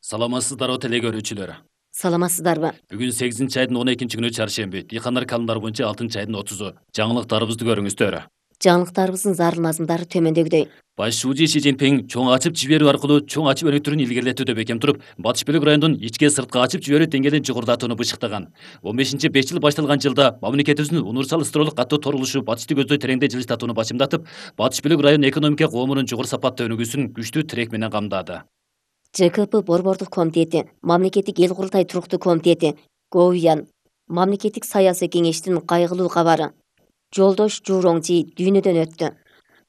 Саламатсыздарбы теле көрүүчүлөр. Саламатсыздарбы? Бүгүн 8 айдын 12-күнү чаршемби. Дыйкандар календарь боюнча 6 айдын 30-у. Жаңылыктарыбызды көрүңүздөр. Жаңылыктарыбыздын зарыл мазмундары төмөндөгүдөй. Баш шуужи Си Цзиньпин чоң ачып жиберүү аркылуу чоң ачып өнүктүрүүнү илгерилетүүдө бекем туруп, Батыш бөлүк районунун ички сырткы ачып жиберүү деңгээлин жогорулатууну бышыктаган. 15-5 жыл башталган жылда мамлекетибиздин универсал стролук катуу торулушу батышты көздөй тереңде жылыштатууну башымдатып, Батыш бөлүк район экономика коомунун жогору сапаттуу өнүгүүсүн күчтүү тирек менен камдады. ЖКП Борбордук комитети, Мамлекеттик эл курултай туруктуу комитети, ГОУЯН, Мамлекеттик саясий кеңештин кайгылуу кабары. Жолдош Журоңжи дүйнөдөн өттү.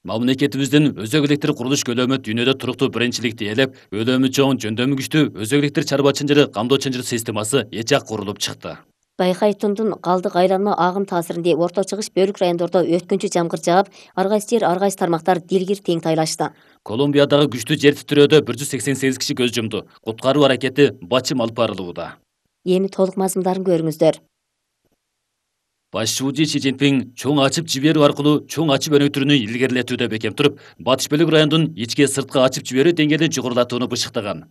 Мамлекетибиздин өзөк электр курулуш көлөмү дүйнөдө туруктуу биринчиликти ээлеп, өлөмү чоң, жөндөмү күчтүү өзөк электр чарба чынжыры камдоо чынжыр системасы эчак курулуп чыкты. Байкайтундун калдык айланма агым таасиринде Орто Чыгыш бөлүк райондордо өткүнчү жамгыр жаап, ар кайсы жер, ар кайсы тармактар дилгир тең тайлашты. Колумбиядагы күчтүү жер титирөөдө 188 киши көз жумду. Куткаруу аракети бачым алып барылууда. Эми толук мазмундарын көрүңүздөр. Баш шуужи Си Цзиньпин чоң ачып жиберүү аркылуу чоң ачып өнүктүрүүнү илгерилетүүдө бекем туруп, Батыш бөлүк районунун ички сырткы ачып жиберүү деңгээлин жогорулатууну бышыктаган.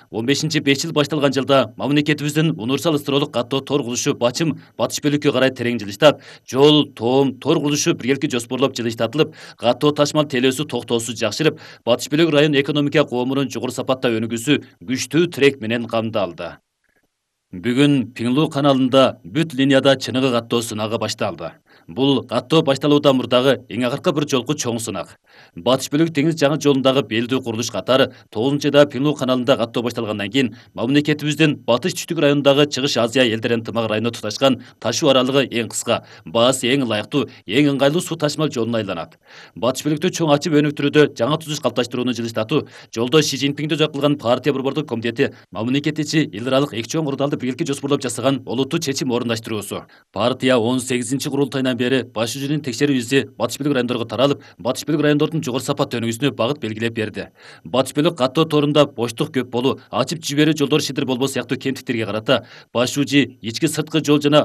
15-5 жыл башталган жылда мамлекетибиздин универсал стролук каттоо тор курулушу бачым Батыш бөлүккө карай терең жылыштап, жол, тоом, тор курулушу биргелки жоспорлоп жылыштатылып, каттоо ташмал телөөсү токтоосуз жакшырып, Батыш бөлүк район экономика коомунун жогору сапаттуу өнүгүүсү күчтүү тирек менен камдалды. Бүгүн Пиңлу каналында бүт линияда чыныгы каттоо сынагы башталды. Бул каттоо башталуудан мурдагы эң акыркы бир жолку чоң сынак. Батыш бөлүк деңиз жаңы жолундагы белдүү курулуш катары 9-да Пиңлу каналында каттоо башталгандан кийин мамлекетибиздин Батыш түштүк районундагы Чыгыш Азия элдер ынтымак району туташкан ташуу аралыгы эң кыска, баасы эң ылайыктуу, эң ыңгайлуу суу ташмал жолуна айланат. Батыш бөлүктү чоң ачып өнүктүрүүдө жаңы түзүш калыпташтырууну жылыштатуу жолдош Си Цзиньпинди өзөк кылган партия борбордук комитети мамлекет ичи эл аралык эки чоң курулталды биргеликте жоспорлоп жасаган олуттуу чечим орундаштыруусу. Партия 18-курултайынан бери баш шүүжүнүн текшерүү изи Батыш бөлүк райондорго таралып, Батыш бөлүк райондордун жогору сапаттуу өнүгүүсүнө багыт белгилеп берди. Батыш бөлүк каттоо торунда боштук көп болуу, ачып жиберүү жолдор шидир болбоо сыяктуу кемтиктерге карата баш шүүжи ички сырткы жол жана